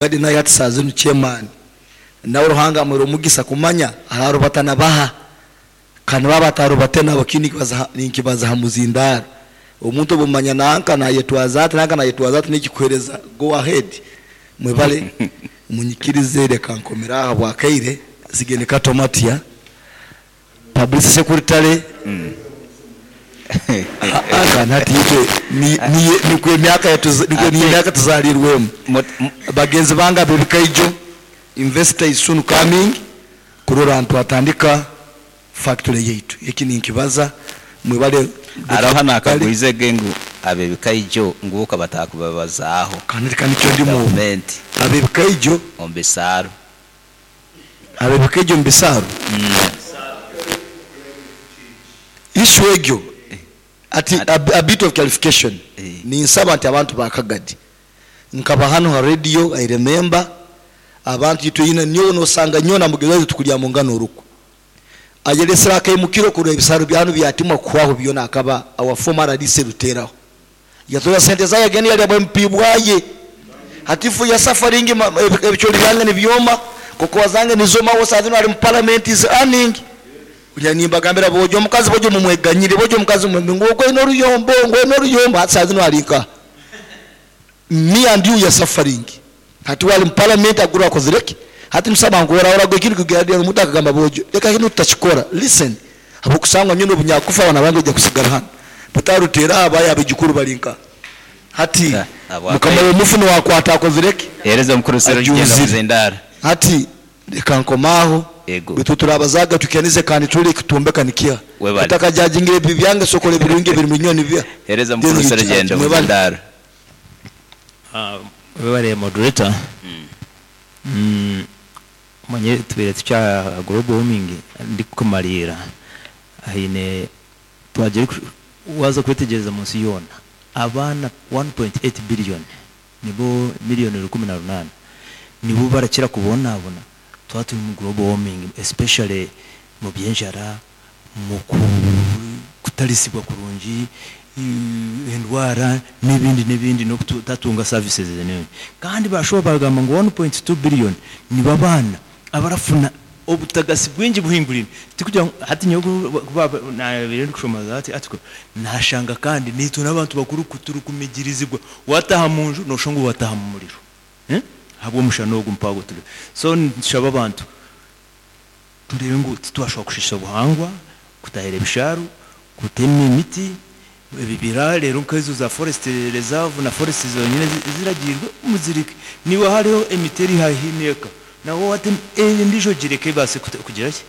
Gadi naye hati saaha zinu chairman nawe Ruhanga amuhaire omugisa kumanya ararubata na baha kandi baaba atarubate nabo kinu ninkibaza ha muzindaaro. Omuntu obumanya nanka nayetwaza ati nanka nayetwaza ati nikikuhereza go ahead. Mwebale munyikirize reka nkomere aho habwakaire nsigire ni Kato Matia. Publicity secretary Aa hati itwe nikwo emyaka niyo emyaka tuzarirwemu. Bagenzi bange ab'ebikaijo, investor is soon coming kurora ntwatandika factory yaitu. Eki ninkibaza mwebale. Haroho anakagwize ge ngu ab'ebikaijo ngu okaba atakubabazaaho Kandi ka nikyo ndimu obu. gavumenti Ab'ebikaijo. omu bisaaro. Ab'ebikaijo omu bisaaro. Issue egyo ati a bit of clarification ninsaba nti abantu ba Kagadi nkaba hanu ha radio I remember abantu itwe nyowe nosanga nyowe na mugenzi waitu tukuryamungana orukwe ayelesire akaimukiro kurora ebisaro byanu byatimwa kuhwaho byona akaba our former RDC Ruteraho Yatora sente zaye yagenda yalya bwa MP bwaye. Hati ifwe ya suffering ebichori byange nibyoma, cocoa zange nizoma aho saha zinu ari mu parliament is earning. Kulya nimbagambira bojo omukazi bojo mumweganyire bojo omukazi mumwe ngu ogwo aine oruyombo ngu aine oruyombo hati saha zinu ari nkaha? Me and you we are suffering. Hati we ari mu parliament agura akozire ki? Hati nitusaba ngu orahura ekindi kugira omuntu akagamba bojo reka kinu tutakikora listen Habw'okusangwa nyowe n'obu nyakufa abaana bange baija kusigara hanu. Bataruteera aha abaye abaijukuru bari nkaha? Hati mukama w'omufu niwe akwata akozire ki? Hereza omukuru Serugendo Ajunzire. Muzindaro. Hati leka nkome aho. Ego. Baitu turabazaaga tuhikanize kandi turole ekitumbeka nikiha. Webale. Otakajajingira ebibi byange sooka orole ebirungi ebiri muri nyowe nibiha. Hereza Then omukuru you judge. Serugendo Mwebale. Muzindaro. Webale moderator. Omanyire tubaire tukya aha global warming ndikukumariira haine twagira waaza kwetegyereza omu nsi yoona abaana 1.8 billion nibo million 18 nibo barakira kubonabona twaba turi omu global warming especially omu by'enjara, omu kutarisibwa kurungi, endwara n'ebindi n'ebindi n'okutatunga services n'ebindi. Kandi bashuba bagamba ngu 1.2 billion nibo abaana abarafuna obutagasi bwingi buhingurine. Tikugira ngu hati nyowe ku nabaire ndikushoma that article nashanga kandi naitwe n'abantu bakuru turikumigirizibwa wataha munju noshusha ngu wataha mu muriro ahabw'omushana ogu mpago turiho. So nitushaba abantu Tureebe ngu titwashuba kushiisha obuhangwa, kutahira ebishaaru, kutema emiti, ebibira reero nk'ezo za forest reserve na forest zonyine eziragiirwe muzireke. Niiwe hariho emiti eri haihi n'eka nawe watema endiijo ogireke ebaase kugira ki,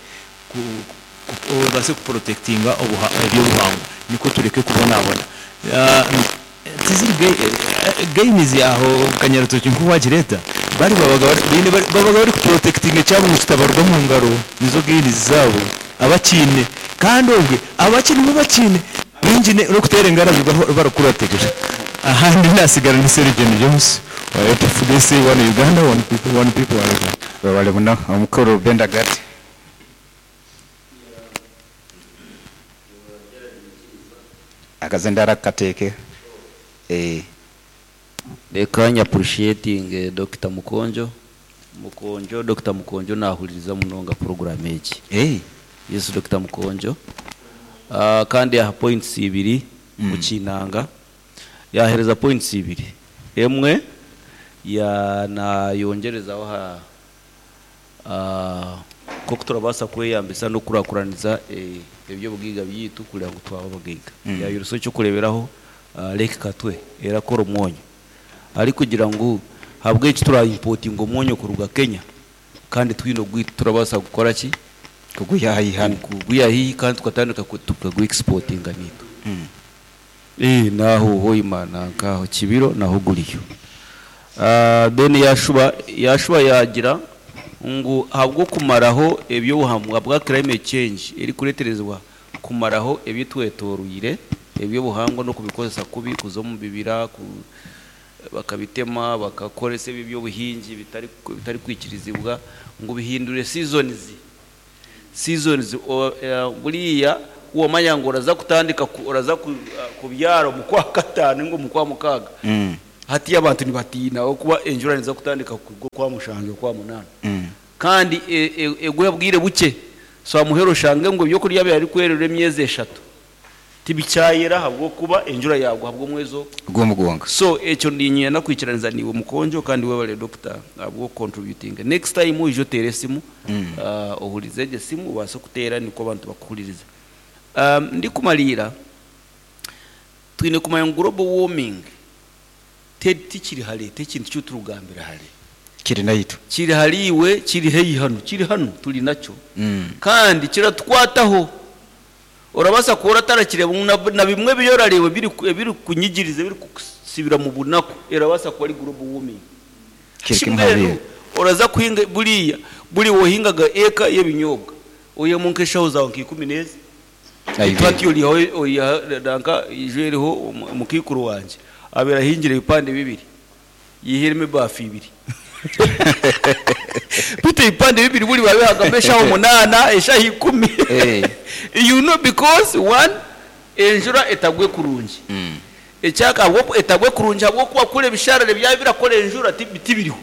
ebaase kuprotectinga eby'obuhangwa nikwo tureke kubonabona. Tiziri gains aho kanyarutoki nkoku wagireeta bari babaga baine babaga bari ku protectinga ekyabo ngu kitabaruga omu ngaro nizo gains zaabo abakiine kandi obwe abakye nibo bakiine baingi n'okuteera engarabi barikukuratirira ahandi nasigara ni Serugendo James wa APFDC one Uganda one people one people one Uganda. Webale muno omukuru Benda Gati. Akazindaro kateeke eeh. Reka nyi appreciatinge Dokita Mukonjo. Mukonjo, Dokita Mukonjo nahuririza munonga program egi. Eeh. Yes Dokita Mukonjo. Kandi yaaha points ibiri Mukinanga. Yaahereza points ibiri. Emwe ya nayongyerezaho aha Nk'oku turabaasa kweyambisa n'okukurakuraniza eby'obugaiga byaitu kureba ngu twaba abagaiga. Yaayoresa eky'okureeberaho Lake Katwe erakora omwonyo arikugira ngu ahabw'enki tura impotinga omwonyo kuruga Kenya kandi twine ogwaitu turabaasa kukora ki? Kugwiha haihi hanu. Kugwiha haihi kandi tukatandika tukagu exportinga naitwe. N'aho Hoima na nk'aho Kibiro naho guriyo. Then yaashuba yaashuba yaagira ngu ahabw'okumaraho eby'obuhangwa bwa climate change erikureeterezibwa kumaraho ebitwetooroire eby'obuhangwa n'okubikozesa kubi kuza omu bibira ku bakabitema bakakoresa ebi eby'obuhingi bitari bitarikwikirizibwa ngu bihindure seasons. Seasons buriya ku wamanya ngu oraza kutandika oraza kubyara omu kwakataano ninga omu kwamukaaga, Hatiiya abantu nibatiina ahabw'okuba enjura neeza kutandika kugwa Okwamushanju, Okwamunaana kandi egwe obwire bukye. So aha muheru oshange ngu ebyokurya ebi arikwerera emyezi eshatu tibikyayera ahabw'okuba enjura yaagwa ahabw'omwezi ogwo. Gw'omu gwonka. So ekyo niinyenda kwikiraniza naiwe Mukonjo kandi webare Doctor ahabw'okucontributinga. Next time oije oteere esimu, ohurize egyo esimu obaase kuteera nikwo abantu bakuhuririza. Ndikumariira, twine kumanya ngu global warming tikiri hare, t'ekintu ki turikugambira hare. Kiri naitwe. Kiri hariiwe, kiri haihi hanu, kiri hanu turi nakyo kandi kiratukwataho. Orabaasa kuba oratarakireeba ngu na bimwe ebi orareeba ebirikukunyigiriza, ebirikukusibira mu bunaku, erabaasa kuba ari global warming. Kiri kimwe hariiwe. Mbwenu oraza kuhinga buriya, buri wohingaga eka y'ebinyobwa, oihemu nk'eshaho zaawe nka ikumi n'ezi, Beitu hati oriihaho oiha nanka ijo eriho omukaikuru wangye abaire ahingire ebipande bibiri yaihiremu ebaafu ibiri. Beitu ebipande bibiri buri babihagamu eshaaha munaana, eshaaha ikumi. You know because one enjura etagwe kurungi. Ekyaka ahabw'oku etagwe kurungi ahabw'okuba kuri ebisharara ebyaba birakora enjura tibiriho.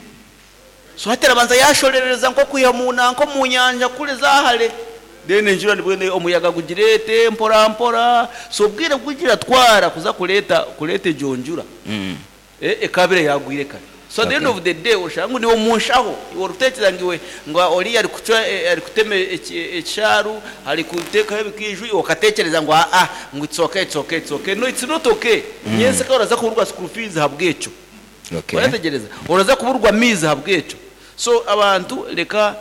So hati arabanza yaashorereza nk'okwiha mu nanka omu nyanja kureza hare, then enjura nibwo omuyaga gugireete mpora mpora. So obwire obu giratwara kuza kureeta kureeta egyo njura, ekaabire yaagwire kare. So at the end of the day oshanga ngu niiwe omu nshaho, iwe orikuteekyereza ngu iwe ngu oriya arikucwa arikutema ekishaaru, arikuteekaho ebikaiju, iwe okateekyereza ngu aa ngu it's okay, it's okay, it's okay. No it's not okay. Nyentsya oraza kuburwa school fees ahabw'ekyo. Okay. Oretegyereza? Oraza kuburwa amaizi ahabw'ekyo. So abantu reka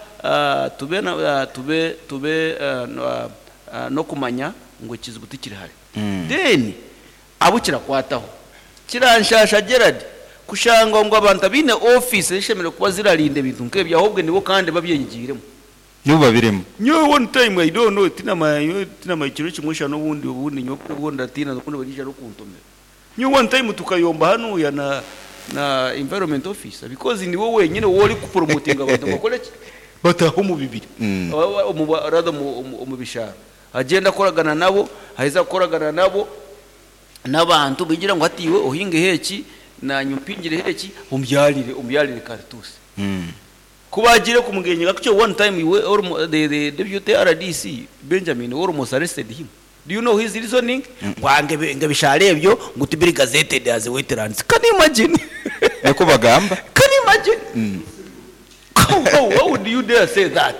tube na tube tube n'okumanya ngu ekizibu tikiri hare. Then abu kirakwataho. Kiranshasha Gerald kushanga ngu abantu abaine ofiisi ezishemereire kuba zirarinda ebintu nk'ebyo ahobwe nibo kandi babyenyigiiremu. Nibo babirimu. Nyowe one time I don't know tinamanya nyowe tinamanya kiro kimwe shana obundi obundi nyowe obwo ndatiina obundi bariija n'okuntomera. Nyowe one time tukayomba hanuya na na environment officer because niwe wenyine owu ori ku promotinga abantu ngu bakore ki? Bataahe omu bibira omu rather omu bishara. Agyenda akoragana nabo, aheza kukoragana nabo n'abantu bigira ngu hati iwe ohingeho eki nanye mpingireho eki ombyarire ombyarire karituusi. Ku baagiire kumugengyera kutyo one time iwe the deputy RDC Benjamin almost arrested him. Do you know his reasoning? Ngu ah ngu ebishara ebyo ngu tibiri gazetted as wetlands. Can you imagine? Nikwo bagamba. Can you imagine? How, how, how would you dare say that?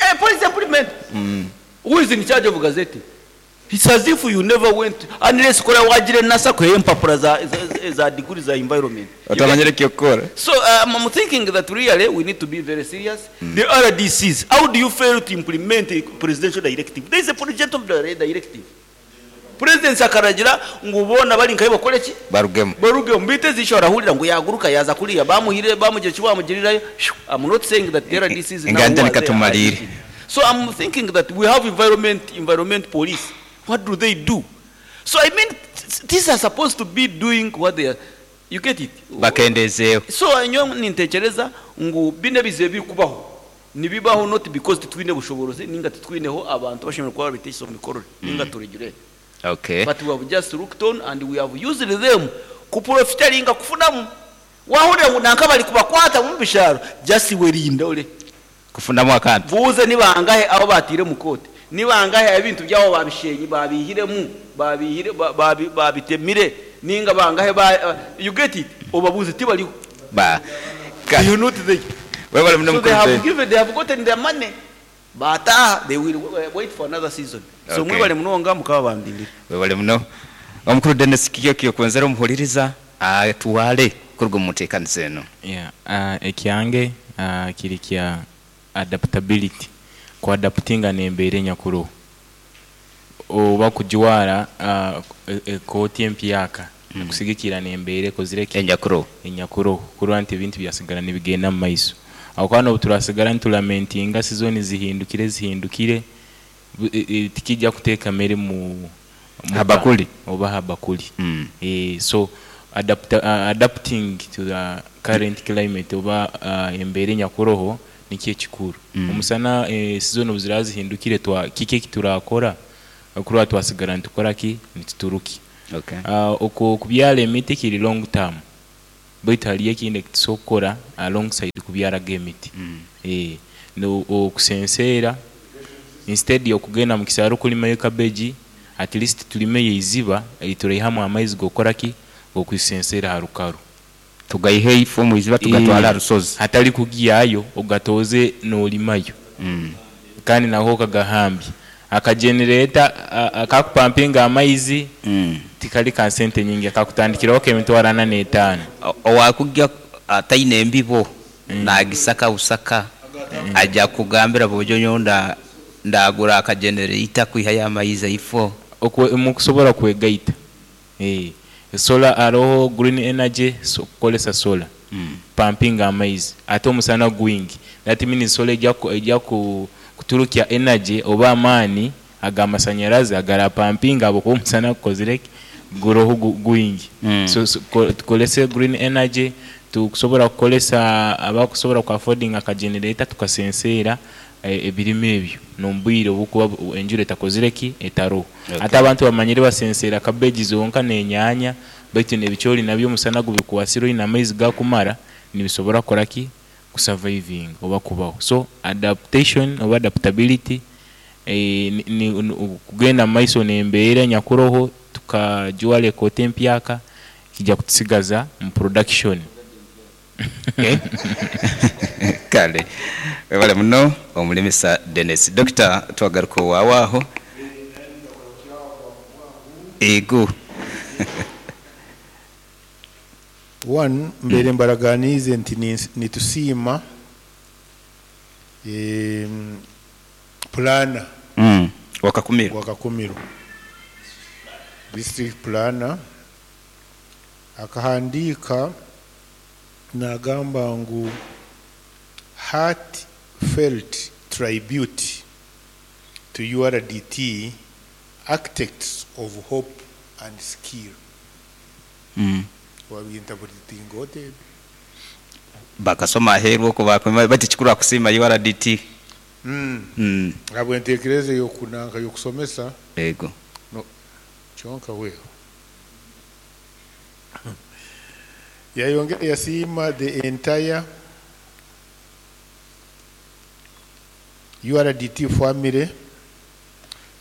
A policy implement. Who is in charge of gazetting? It's as if you never went, unless kora waagire NASA kuheyo empapura za, za, za degree za environment. Otamanyire eky'okukora. So I'm thinking that really we need to be very serious. The RDCs, how do you fail to implement a presidential directive? There is a presidential directive. President akaragira ngu boona abari nkahi bakore ki? Barugemu. Barugemu. Beitu ezi ishe orahurira ngu yaguruka yaaza kuriya bamuhire bamugira eki bamugirirayo. I'm not saying that the RDCs now Enganja who are there are nikatumariire. guilty. So I'm thinking that we have environment, environment police. What do they do? So I mean, these are supposed to be doing what they are, you get it? Bakendezeeho. So nyowe nintekyereza ngu binu ebizibu ebirikubaho nibibaho not because titwine bushoborozi ninga titwineho abantu abashemereire kuba barabiteisa omu mikorere ninga to regulate. Okay. But we have just looked on and we have used them kuprofitaringa kufunamu. Wahurira ngu nanka bari kubakwata omu bisharo, just iwe rinda ore. Kufunamu akantu. Buuze ni bangahe abu baataire omu kooti? Ni bangahe abu ebintu byabo baabisheenyi, baabiihiremu, baabiihire, baabi, baabitemire, nainga bangahe ba, you get it? Obabuuze, tibariho. Ba, They ka. are not there. Webale muno So they mukuru have Ben. given, they have gotten their money, baataaha, they will wait for another season. So Okay. mwebale munonga, Mukama abandindire. Webale muno. Omukuru Dennis Kiki okwenzera omuhuririza atware kuruga omu nteekaniza enu. Yeah, ekyange kiri kya adaptability, ku adaptinga n'embeera enyakuroho. Oba kujwara ekooti empyaka kusigikirra n'embeera ekozire ki? Enyakuroho. Enyakuroho kurora nti ebintu byasigara nibigenda mu maiso. Habwokuba n'obu turasigara nitulamentinga sizoni zihindukire zihindukire, tikija kuteeka mere mu muka Habakuli. oba ha bakuli. So adapting to the current climate oba embeera enyakuroho nikyo ekikuru. Omusana sizoni obu ziraaba zihindukire twa kiki eki turakora kurora twasigara nitukora ki? Nituturuki. Okay. Oku okubyara emiti kiri long term. Baitu hariyo ekindi ekitusobola kukora alongside kubyara ag'emiti. Okusenseera instead y'okugenda mu kisaaru kulimayo cabbage, at least tulimeyo eiziba erituraihamu amaizi g'okukora ki? G'okusenseera aha rukaru. Tugaihe ifo omu iziba tugatwale aha rushozi. Hatari kugihayo ogatooze noolimayo kandi naho okagahambya. Akajenereeta akakupampinga amaizi tikari ka sente nyingi, kakutandikiraho ak'emitwaro ana n'etaano. Owaakugya ataine mbibo naagisaka busaka, aija kukugambira boojo nyowe ndaagura akajenereita kwihayo amaizi eifo. Mukusobora kwegaita. Solar haroho green energy so kukoresa solar kupampinga amaizi ate omusana gwingi that means solar eija kuturukya energy oba amaani aga masanyarazi agarapampinga ahabwokuba omusana gukozire ki? Guroho gwingi. So tukorese green energy tukusobora kukoresa abakusobora ku affordinga aka generator tukasenseera ebirime ebyo n'omu bwire oburikuba enjura etakozire ki? Etaroho. Hati abantu bamanyire basenseera kabeegi zonka n'enyaanya baitu n'ebicoori nabyo omusana gubikwasire oine amaizi gakumara nibisobora kukora ki? Kusavaivinga oba kubaho. So adaptation oba adaptability kugenda omu maiso n'embeera enyakuroho tukajwara ekooti empyaka kiija kutusigaza omu production. Kale webale muno omulimisa Denis. Dokita twagaruka owaawe aho. Ego. One, mbaire mbaraganiize nti nitusiima pulaana Wa Kakumiro. Wa Kakumiro. District planner akahandiika naagamba ngu heartfelt tribute to URDT architects of hope and skill. Wabintaburitinga ota ebyo? Bakasoma aheeru okwo baakwema bati kikuru akusiima URDT. Ahabw'enteekereza ey'okunanka y'okusomesa. Ego. No, kyonka weho. Yayongera yasiima the entire URDT family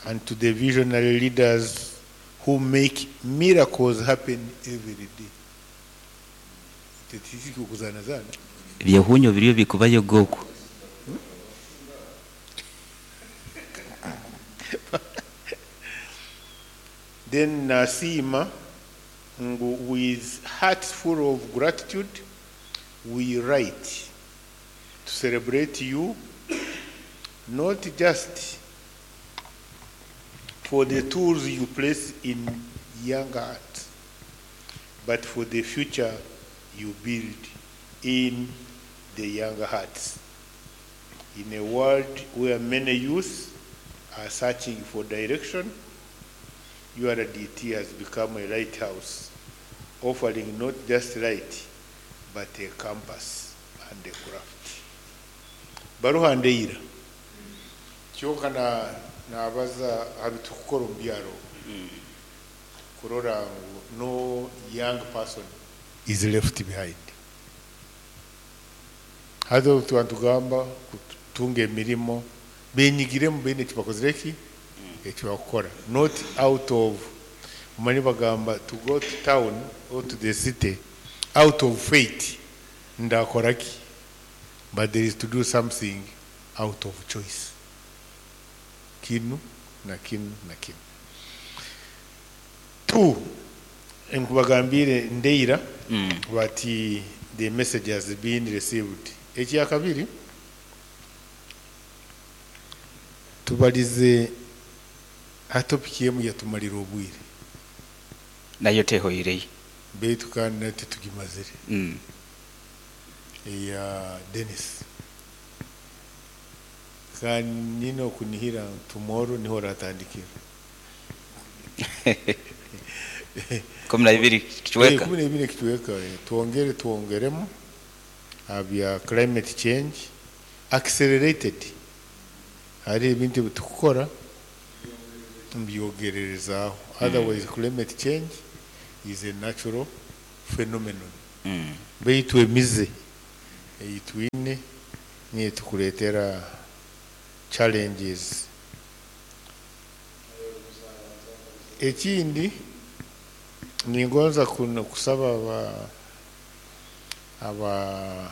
and to the visionary leaders who make miracles happen every day. Ekyo tikiri okuzaanazaana. Ebyehunyo biriyo bikubayo ge okwo. Then nasiima ngu with hearts full of gratitude we write to celebrate you not just for the tools you place in young hearts but for the future you build in the young hearts. In a world where many youth are searching for direction, URDT has become a lighthouse, offering not just light, but a compass and a craft. Baruha ndeira. Kyonka na nabaza aha bitukukora omu byaro kurora ngu no young person is left behind. Hati obu tuba nitugamba kutunga emirimo, benyigiremu baine eki bakozire ki? Eki bakukora. Not out of, omanye bagamba to go to town or to the city out of fate, ndakora ki? But there is to do something out of choice. Kinu na kinu na kinu. Two, nkubagambiire ndeira bati the message has been received. Ekyakabiri, tubarize aha topic emwe yatumarira obwire. Nayo tehoireyo. Beitu kandi nayo titugimazire. Eya Denis. Kandi nyine okunihira ngu tomorrow niho oratandikira. 12 kicweka. 12 ekicweka. Twongere twongeremu aha bya climate change accelerated. Hariho ebintu ebi turikukora mbyogererezaaho. Otherwise climate change is a natural phenomenon. Baitu emize ei twine niyo etukureetera challenges. Ekindi ningonza kusaba aba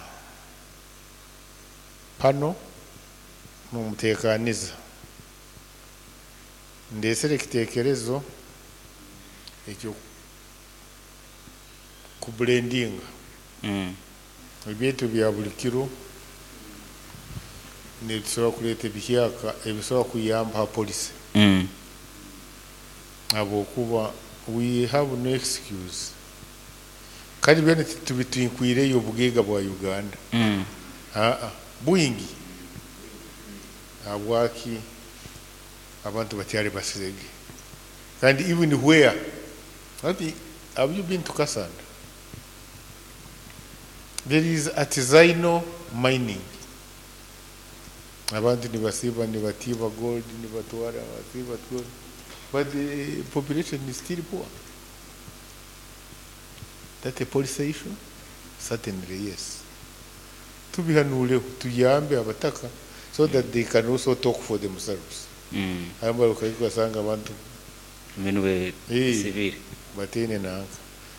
pano mumutekaniza ndesere ekitekerezo ekyo kublendinga ebintu bya buli kiro nebisobora kureeta ebihyaka ebisobora kuyamba ha policy habwokuba we have no excuse kandi byona titubitinkwireyo obugaiga bwa Uganda. Aa bwingi habwaki abantu bakyali basirege kandi even where ati have you been to Kasanda? There is artisanal mining. Abantu nibasiba nibatiba gold nibatwara basiba gold, but the population is still poor. That a policy issue? Certainly yes. Tubihanuleho tuyambe abataka so that they can also talk for themselves. Hamba ukasanga abantu Minwe sivile batene nanka.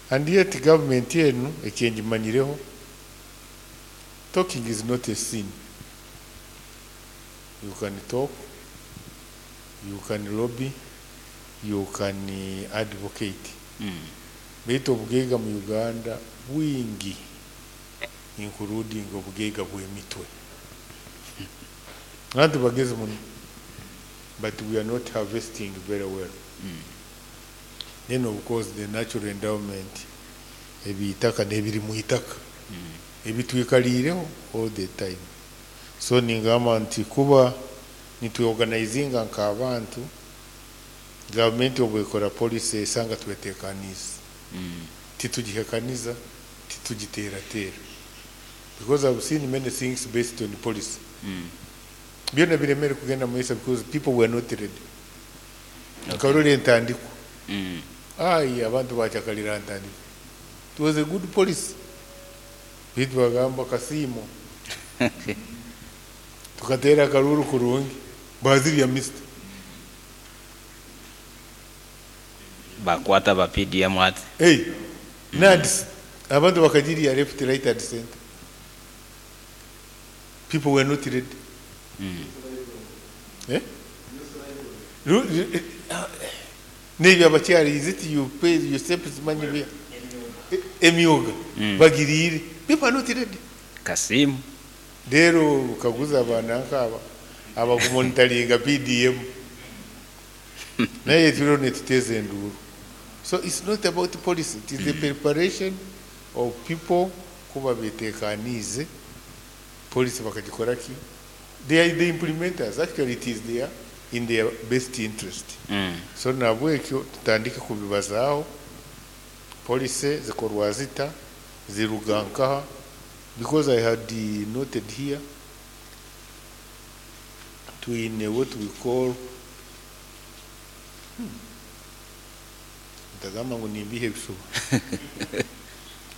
And yet government yenu ekyenjimanyireho, talking is not a sin. You can talk, you can lobby, you can advocate. Baitu obugaiga mu Uganda bwingi, including obugaiga bw'emitwe. Abantu bagezi muno, but we are not harvesting very well. Then of course the natural endowment, ebitaka n'ebiri mu itaka ebitwikaliireho all the time. So ningamba nti kuba nitweorganizinga nk'abantu, gavumenti obwekora policy esanga twetekanize, titugihekaniza, titugiteratera, because I've seen many things based on policy byona biremere kugenda mu maiso because people were not ready. Nkarora entandikwa, ai abantu bachakalira ntandikwa. It was a good policy, bitu bagamba kasiimo tukatera akaruru kurungi bazirya mister bakwata ba PDM ati hey NAADS abantu bakagirya left, right and center. People were not ready. Eh? Nebyo abakyali, is it you pay your steps money bya emyoga bagirire, people are not ready. Kasimu rero kaguza abana nkaba abakumonitaringa PDM naye turiho nituteza enduru. So it's not about policy, it is the preparation of people kuba betekanize policy bakagikora ki. They are the implementers, actually it is their in their best interest. So nabwekyo tutandike kubibazaho policy zikorwa zita ziruga nkaha, because I had noted here twine what we call ntagamba ngu nimbihe ebishuba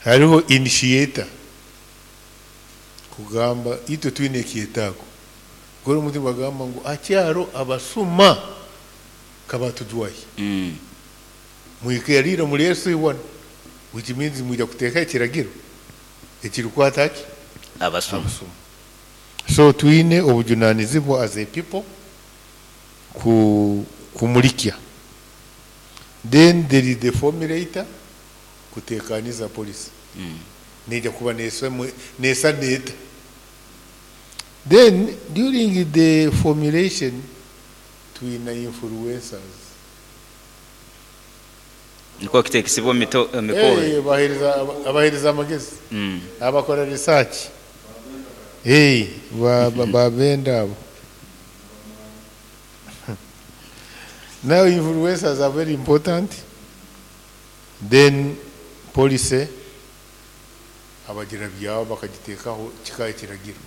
hariho initiator kugamba itwe twine ekyetaago gora omuntu bagamba ngu akyaro abasuma kabatujwayi mwikerire muri Yesu iwana, which means mwija kuteeka ekiragiro ekirikwata ki abasuma. So twine obujunanizibwa as a people kumulikya. Then there is the formulator kutekaniza policy neja kuba nesa neta. Then during the formulation twina influencers niko kitekisibwa mikoro abahereza amagezi abakora research babenda abo. Now influencers are very important. Then policy abagira byabo bakagitekaho kikaye kiragira.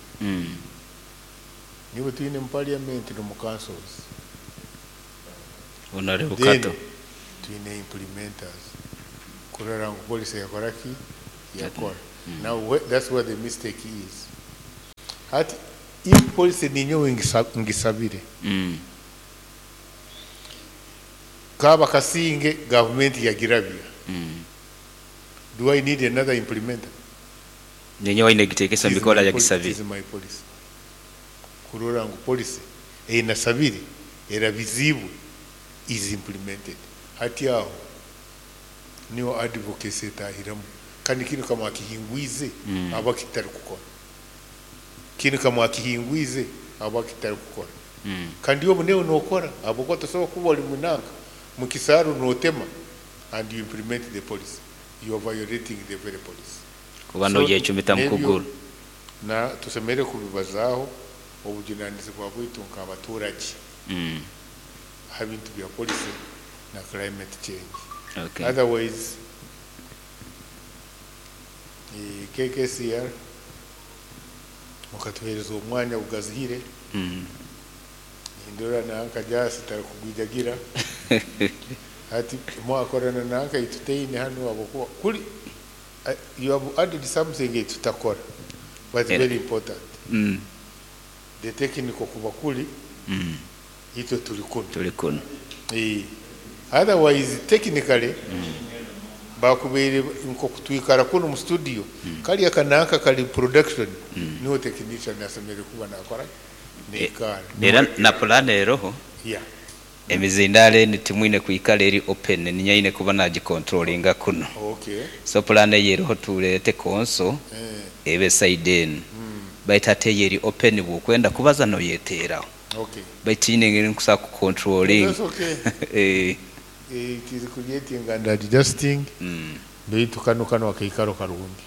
Niba twine mu parliament no mu councils, Honorable then Kato twine implementers kurora ngu policy yakora ki yakora. Now that's where the mistake is. Hati if policy ninyowe ngisabire kaba kasinge gavumenti yagirabya, do I need another implementer? Ninyowe aine kugitekesa It is mubikora my yagisabire. It is my policy kurora ngu policy eyinasabire erabizibwe is implemented. Hati aho niho advocacy etahiramu kandi kinu kamwakihingwize aba kitari kukora, kinu kamwakihingwize aba kitari kukora. Kandi obu newe nokora ahabwokuba tosobola kuba ori munanka mukisaaru notema and you implement the policy, you are violating the very policy. Kuba So, noyecumita n'ebyo mukuguru. Na tusemeriire kubibazaaho obujunanizibwa bwaitu nk'abaturage ha bintu bya policy na climate change. Otherwise, KKCR mukatuhereza omwanya gugazihire. Nindora nanka Jasi tarikugwijagira hati mwakorana nanka ituteine hanu habwokuba kuri you have added something etutakora but very important. The technical kuba kuri itwe turi kuno. Turi kuno. Otherwise technically bakubaire nk'okutwikara kuno mu studio kariya kananka kari production niho technician asemeriire kuba nakora neikara. Era na plan eroho. Emizindaro enu timwine kwikara eri open, ninye aine kuba nagicontrollinga kuno. So plan eyo eroho turete console ebe side enu. Baitu hati eyo eri open bwokwenda kubaza noyeteraho. Baitu tihaine engeri nkusobola kucontrollinga. That's okay. It is creating and adjusting. Baitu kano kano akaikaro karungi.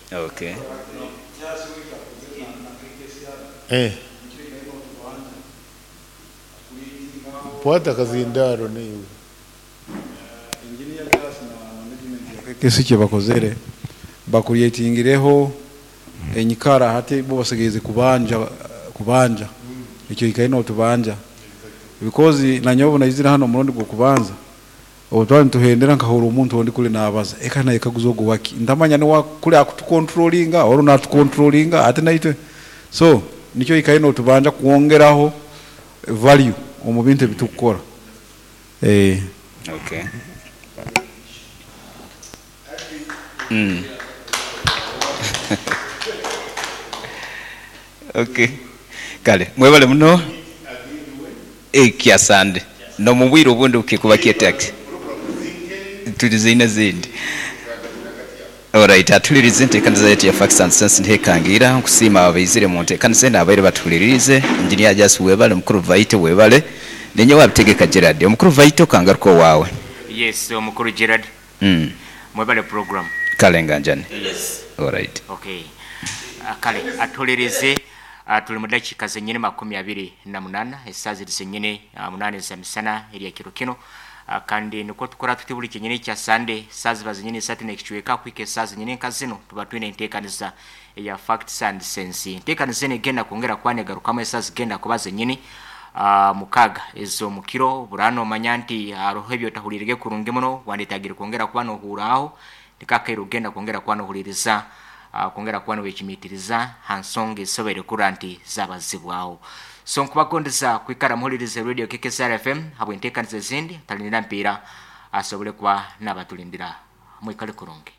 Kwata kazindaro niwe. Kesi kye bakozere bakuryetingireho enyikara hati bo basigeze kubanja kubanja ekyo ikaina otubanja because nanyobo naizira hano murundi gwo kubanza obutwali nituhendera nkahura omuntu ondi kuli nabaza eka naye kaguza ogu waki ndamanya ni kuli akutukontrolinga oro natukontrolinga ate naitwe so nikyo ikaina otubanja kwongeraho value omu bintu ebitukukora. Okay. Okay. Kale, mwebale muno. Kyasande. No mu bwire obundi kikuba kyetax. Tuliziine zindi. Alright, atulirize enteekaniza yetu ya Facts and Sense ntekangira nkusiima abaizire mu nteekaniza eno abaire batulirize. Engineer Jasi webale, omukuru Vaito webale. Ninye wabitegeka Gerard. Omukuru Vaito kangaruka owaawe. Yes, omukuru Gerard. Mwebale program. Kale nganjani. Yes. Alright. Okay. Kale atulirize tuli mu dakiika zenyini 28 esaaha ziri zenyini 8 za misana erya kiro kino. Kandi nikwo tukora tuti buri kinyini kya Sunday esaaha ziba zenyini isatu n'ekicweka kuhika esaaha zenyini nka zino tuba twine enteekaniza eya Facts and Sense. Enteekaniza eno egenda kwongera kuba negarukamu esaaha zigenda kuba zenyini 6 ez'omukiro. Burano nomanya nti hariho ebi otahuriirege kurungi muno wandetagire kwongera kuba nohuraaho nikakaire ogenda kwongera kuba nohuririza kwongera kuba nowekimiitiriza ha nsonga ezisoboire kurora nti zabazibwaho. So nkubagondeza kwikara muhuririze Radio KKCR FM habw'enteekaniza ezindi talinira mpiira asobole kuba nabatulindira. Mwikale kurungi.